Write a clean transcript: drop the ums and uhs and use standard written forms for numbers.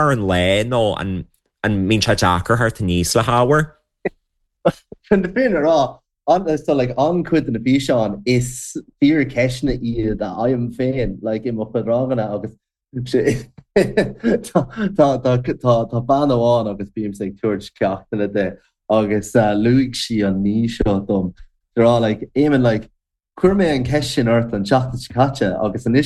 ar an lá nó an an mbíonn sé deacair theacht aníos le hábhar? Chun na fírinne a rá, an so like an-chuid de na físeáin is fíorcheisteanna iad a fhaighim féin like i mo chuid ranganna agus tá tá tá tá bean amháin agus bímse ag tabhairt ceachtanna di agus luaigh sí an ní seo dom, ag rá like Éamonn like chuir mé an cheist sin ort an tseachtain seo caite agus anois.